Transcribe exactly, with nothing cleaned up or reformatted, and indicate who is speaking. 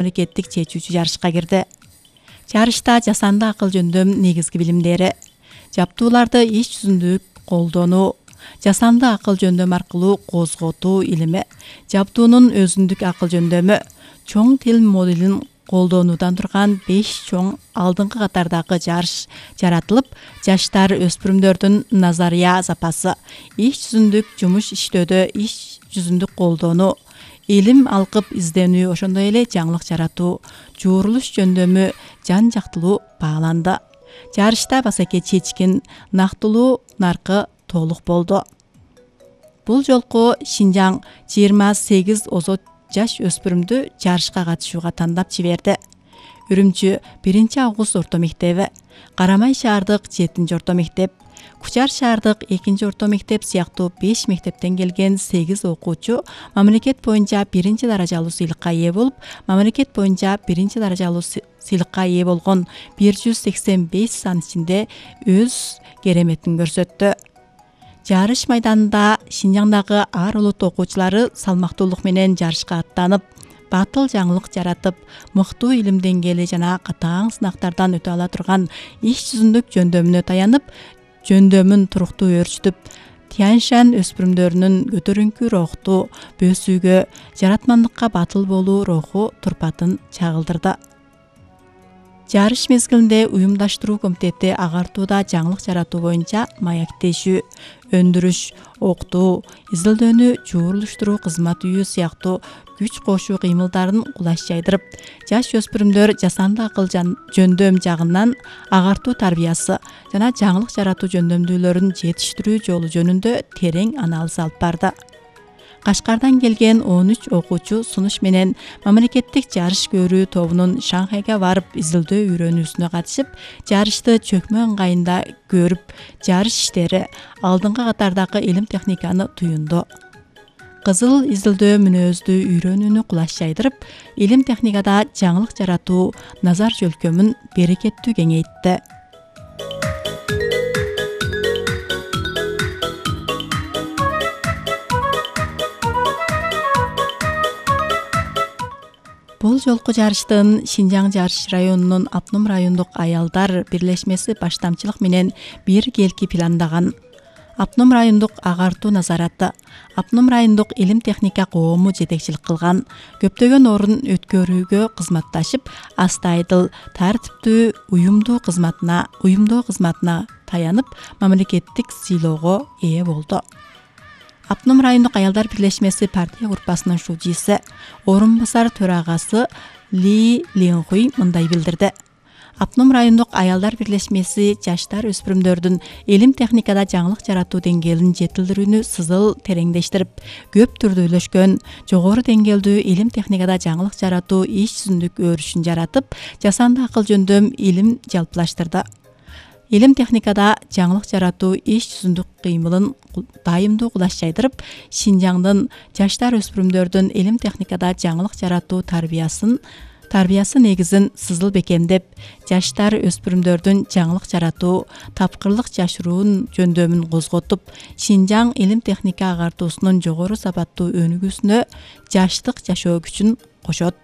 Speaker 1: мамлекеттик чечүүчү жарышка кирди. Жарышта жасанды акыл жөндөм негизги билимдери, жаптууларды иш жүзүндө колдонуу, жасанды акыл жөндөм аркылуу козготуу илими, жаптуунун өзүндүк акыл жөндөмү, чоң тил моделин колдонуудан турган беш чоң алдыңкы катардагы жарыш жаратылып, жаштар өспүрүмдөрдүн назария запасы, иш жүзүндүк жумуш иштөөдө иш жүзүндүк колдонуу, илим алкып изденүү, ошондой эле жаңылык жаратуу, жуурулуш жөндөмү жан жактылуу бааланды. Жарышта басаке чечкин, нактылуу наркы толук болду. Бул жолку Шинжаң жыйырма сегиз озот жаш өспүрүмдү жарышка катышууга тандап жиберди. Үрүмчү биринчи август орто мектеби, Карамай шаардык жетинчи орто мектеп, Кучар шаардык экинчи орто мектеп сыяктуу беш мектептен келген сегиз окуучу мамлекет боюнча биринчи даражалуу сыйлыкка ээ болуп, мамлекет боюнча биринчи даражалуу сыйлыкка ээ болгон бир жүз сексен беш сан ичинде өз кереметин көрсөттү. Жарыш майданында Шинжаңдагы ар улут окуучулары салмактуулук менен жарышка аттанып, батыл жаңылык жаратып, мыктуу илим деңгээли жана катаң сынактардан өтө ала турган иш жүзүндүк жөндөмүнө таянып, жөндөмүн туруктуу өөрчүтүп, Тяньшань өспүрүмдөрүнүн көтөрүңкү рухту бөөсүүгө, жаратмандыкка батыл болуу руху турпатын чагылдырды. Жарыш мезгилинде уюмдаштыруу комитети агартууда жаңылык жаратуу боюнча маектешүү, өндүрүш, октуу, изилдөөнү жуурулуштуруу кызмат үйү сыяктуу күч кошуу кыймылдарын кулаш жайдырып, жаш өспүрүмдөр жасанды акыл жөндөм жагынан агартуу тарбиясы жана жаңылык жаратуу жөндөмдүүлөрүн жетиштирүү жолу жөнүндө терең анализ алып барды. Кашкардан келген он үч окуучу сунуш менен мамлекеттик жарыш көрүү тобунун Шанхайга барып изилдөө үйрөнүүсүнө катышып, жарышты чөкмө ыңгайында көрүп, жарыш иштери, алдыңкы катардагы илим техниканы туюнду. Кызыл изилдөө мүнөздүү үйрөнүүнү кулаш жайдырып, илим техникада жаңылык жаратуу назар жөлкөмүн берекеттүү кеңейтти. Бул жолку жарыштын Шинжаң жарыш районунун Апном райондук аялдар бирлешмеси баштамчылык менен бир келки пландаган. Апном райондук агартуу назараты, Апном райондук илим техника коому жетекчилик кылган, көптөгөн орун өткөрүүгө кызматташып, астайдыл, тартиптүү уюмдуу кызматына, уюмдоо кызматына таянып, мамлекеттик сыйлоого ээ болду. Апном райондук аялдар бирлешмеси партия группасынын шужиси, орун басар төрагасы Ли Ленхуй мындай билдирди. Апном райондук аялдар бирлешмеси жаштар өспүрүмдөрдүн илим техникада жаңылык жаратуу деңгээлин жетилдирүүнү сызыл тереңдештирип, көп түрдүүлөшкөн, жогору деңгээлдүү илим техникада жаңылык жаратуу иш жүзүндүк өөрүшүн жаратып, жасанды акыл жөндөм илим жалпылаштырды. Илим техникада жаңылык жаратуу иш жүзүндүк кыймылын дайымдуу кулаш жайдырып, Шинжаңдын жаштар өспүрүмдөрдүн илим техникада жаңылык жаратуу тарбиясын тарбиясы негизин сызыл бекемдеп, жаштар өспүрүмдөрдүн жаңылык жаратуу, тапкырлык жашыруун жөндөмүн козготуп, Шинжаң илим техника агартуусунун жогору сапаттуу өнүгүүсүнө жаштык жашоо күчүн кошот.